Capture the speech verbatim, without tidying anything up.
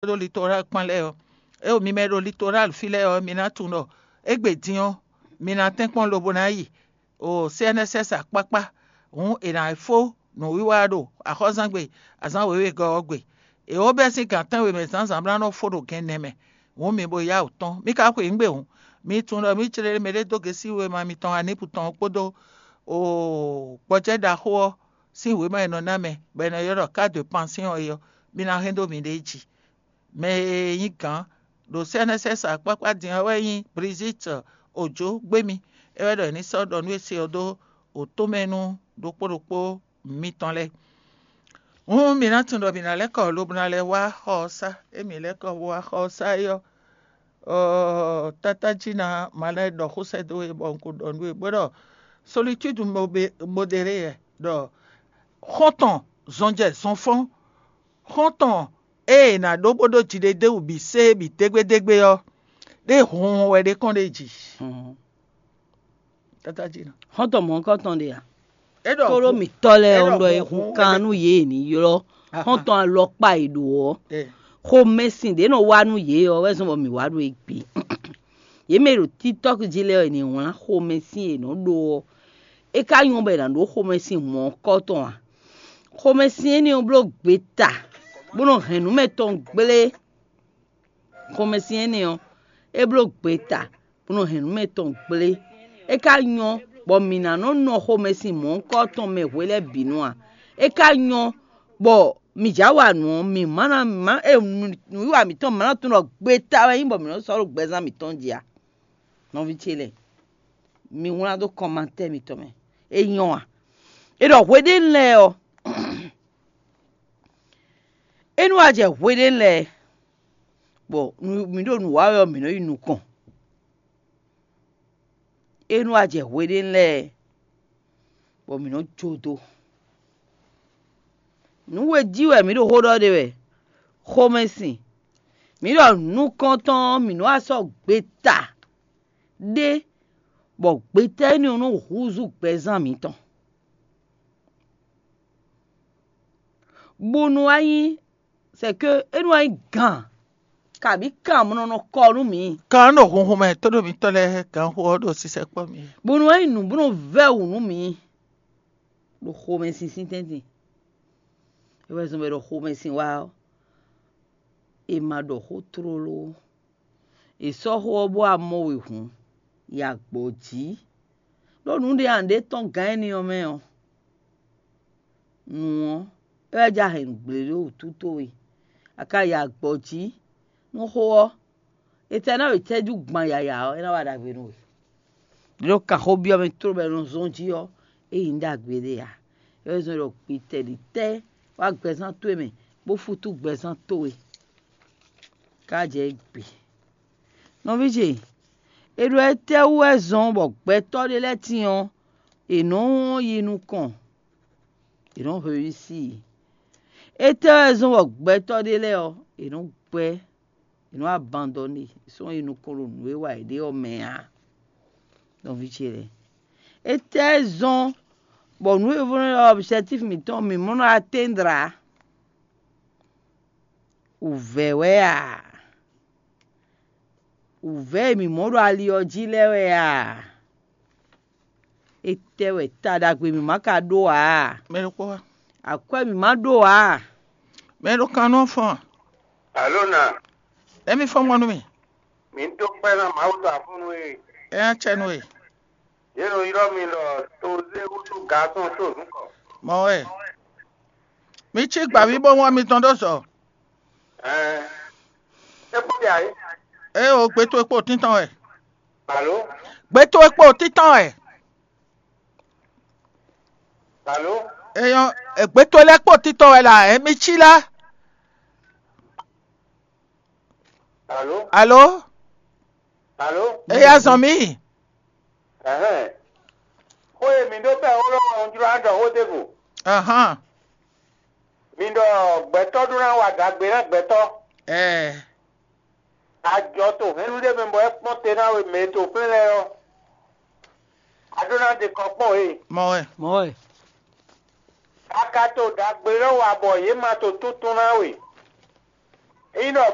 ɖo Litoral kpán lɛ́ɛ ɔ́, eo mi mɛ e ɖo Litoral fí lɛ́ɛ ɔ́, mi ná tunwun ɖɔ égbé din ɔ́, mi ná tɛ́nkpɔ́n lobo ná yi o C N S S akpákpá, hǔn è nǎ fó nǔwiwa ɖo axɔ́zangbe azǎn wěwegɔ́ ɔ́ gbe. È wǒ bɛ́ sín gan tɛ́nwe mɛ zǎnzǎn bó ná nɔ fó ɖo gɛnnɛ mɛ, hǔn mi bo yá wǔ tɔ́n. Mi ka xwe nǔ gbe hǔn, mi tunwun ɖɔ mǐ jlé mɛɖé dó gěsíwéma mitɔn Anípu tɔn ɔ́ kpódó gbɔjɛ́ ɖaxó ɔ́ sín wěma e nɔ ná mɛ, bɔ è nɔ ylɔ́ ɖɔ "cas de pension" é ɔ́, mi ná hɛn dó miɖée jí. Mɛ e nyí gǎn ɖo C N S S akpákpá din ɔ́ wɛ nyí Brigitte Ojo Gbémi. É wɛ ɖɔ è ní sɔ́ ɖɔ nú é se ɔ́ dó wǒtomɛnu ɖokpó ɖokpó mitɔn lɛ́ɛ. Hǔn mi ná tunwun ɖɔ mǐ ná lɛ́ kɔ lobo ná lɛ́ wá xɔ ɔ́ sá. Ée mǐ lɛ́ kɔ wá xɔ ɔ́ sá é ɔ́, ɔɔ, tátájí ná ma lɛ́ ɖɔ xó sɛ́ dó we bɔ un ko ɖɔ nú we bó ɖɔ solitude modérée wɛ ɖɔ xɔ́ntɔn zɔnjɛ zɔnfɔ́n, xɔ́ntɔn ée è nǎ ɖó bó ɖó jiɖeɖéwǔ bǐ sé bǐ dégbédégbé ɔ́, ɖé hunhun wɛ ɖé kɔn ɖ'é jí. Tátájí ná. Xɔ́ntɔn mɔ̌hunkɔtɔn ɖe a? É ɖɔ Tlóló hun- mǐtɔn lɛ́ɛ é ɔ́ ɖɔ ɖɔ e hun hun hun kan nú yě e ní ylɔ́ Aha. Xɔ́ntɔn alɔkpa e ɖo ɔ́. Ɛ. Xomɛsin ɖě nɔ wá nú yě ɔ́ wɛ zɔ́n bɔ mǐ wá ɖo égbé. Yě mɛ e ɖo TikTɔk jí lɛ́ɛ ɔ́, è nǐ wlán xomɛsin e è nɔ ɖó ɔ́. É ka nyɔ́ bɔ è nǎ ɖó xomɛsin mɔ̌hunkɔtɔn a? Xomɛsin énɛ́ ɔ́ bló gbeta, bó nɔ hɛn nǔ mɛtɔn gblé. Xomɛsin énɛ́ ɔ́, é bló gbeta, bó nɔ hɛn nǔ mɛtɔn gblé. É ka nyɔ́ bɔ mǐ ná nɔ nɔ xomɛsin mɔ̌hunkɔtɔn mɛ hwe lɛ́ɛ bǐ nu a? É ka nyɔ́ bɔ mǐ já wa nǔ ɔ́, mǐ má ná má e nǔwiwa mǐtɔn má ná tunwun ɖɔ gbeta wɛ nyí bɔ mǐ nɔ sɔ́ ɖo gbɛzán mǐtɔn jí a? Nɔví ce lɛ́ɛ, mi wlán dó kɔmantɛ́ mitɔn mɛ. É nyɔ́ a? È ɖɔ hweɖénu lɛ́ɛ ɔ́, é nú wá jɛ hweɖénu lɛ́ɛ, bɔ mǐ ɖo nǔ wa wɛ ɔ́, mǐ nɔ yi nukɔn. É nú wá jɛ hweɖénu lɛ́ɛ, bɔ mǐ nɔ jó dó. Nǔ we jí wɛ mǐ ɖo xó ɖɔ ɖe wɛ, xomɛsin. Mǐ ɖɔ nukɔntɔn ɔ́, mǐ nɔ wá sɔ́ gbeta ɖé, bɔ gbeta énɛ́ ɔ́ nɔ húzú gbɛzán mǐtɔn. Bó nú wá nyí, c'est que é nú wá nyí gǎn, kabǐ kan mɔ nɔ kɔ nú mǐ. Kan ɖo hunhun mɛ tóɖó mitɔ́ lɛ́ɛ gǎnxó ɔ́ ɖo sisɛkpɔ́ mì. Bó nú wá nyí nǔ bó nɔ vɛ́ wǔ nú mǐ ɖo xomɛsin sín tɛ́ntin. É wɛ zɔn bɔ è ɖɔ xomɛsin wá ɔ́, è ma ɖɔ xó tlóló ó. È sɔ́ xó ɔ́ bó wá mɔ we hǔn, yi agbɔ̌ jí. Ɖó nǔɖé a nǔɖé tɔ́n gǎn énɛ́ ɔ́ mɛ ɔ́, nǔ ɔ́, é wɛ jɛ ahɛ̌ngble ɖó wǔtu towe. A ka yi agbɔ̌ jí nú xó ɔ́, etɛ́ ná ɖo cɛ́jú gban yǎyá ɔ́, é ná wa ɖagbe nú we. Ɖó kan xó byɔ́ mɛ tlóló bɔ è nɔ zɔ́n jí ɔ́, é nyí ɖagbe ɖé ǎ. É wɛ zɔ́n ɖɔ gbitɛ́ ɖi tɛ́ wá gbɛzán towe mɛ, bó fútú gbɛzán towe. Ká jɛ gbe. Nɔví ce, è ɖɔ étɛ́ wú wɛ zɔ́n bɔ gbɛtɔ́ ɖé lɛ́ɛ tíin ɔ́, è nɔ́ yi nukɔn, è nɔ́ hwesí i? Étɛ́ wɛ zɔ́n bɔ gbɛtɔ́ ɖé lɛ́ɛ ɔ́, è nɔ́ gbɛ́, è nɔ́ abandɔ́ne, è sɔ́ yi nukɔn ɖo nǔ e wa yě ɖe ɔ́ mɛ ǎ? Nɔví ce lɛ́ɛ, étɛ́ zɔ́n bɔ nǔ e vɔ́ nɔ ylɔ́ objectif mǐtɔn mǐ mɔ nɔ atteindre ǎ? Wǔvɛ́ wɛ a? Wǔvɛ́ e mǐ mɔ ɖo ali ɔ́ jí lɛ́ɛ wɛ a? Étɛ́ wɛ ta ɖagbe mǐ ma ka ɖó ǎ? Mɛ ɖokpó wá. Akwɛ́ mǐ ma ɖó ǎ? Mɛ ɖo kan nɔ fɔn. Alo na. Emi fɔn mɔ nú mi. Mǐ dó kpɛ́ ná Mawu dó afɔ́nú e. Ɛ acɛ nú e. Yě nɔ ylɔ́ mi ɖɔ tozé wútu gasɔn tó nǔkɔ. Mɔ wɛ. Mi cí gbǎví bó wán mitɔn ɖó zɔ. Ɛɛ. É kpó ɖe ayé. Ée o gbé towe kpó títɔn wɛ. Alo. Gbé towe kpó títɔn wɛ. Alo. Eyɔn, gbé towe lɛ́ɛ kpó títɔn wɛ la, ɛ mi cí lá. Alo. Alo. Alo. Eya zɔn mí. Ɛhɛn. Xó e mǐ ɖó bɛ́ xó lɔ ɔ́, un jló ná ɖɔ xó ɖěvo. Ahán. Mi ɖɔ gbɛtɔ́ ɖó ná wa ɖagbe ná gbɛtɔ́. Ɛɛ. Ajɔ to hɛ̌nnu ɖé mɛ bɔ é kpɔ́n te ná we mɛ e to flɛ́n lɛ́ɛ ɔ́. A ɖó ná ɖe kɔ kpɔ́n e. Mɔ wɛ. Mɔ wɛ. A ka to ɖagbe lɔ wa bɔ yě ma to túntún ná we. Ényí ɖɔ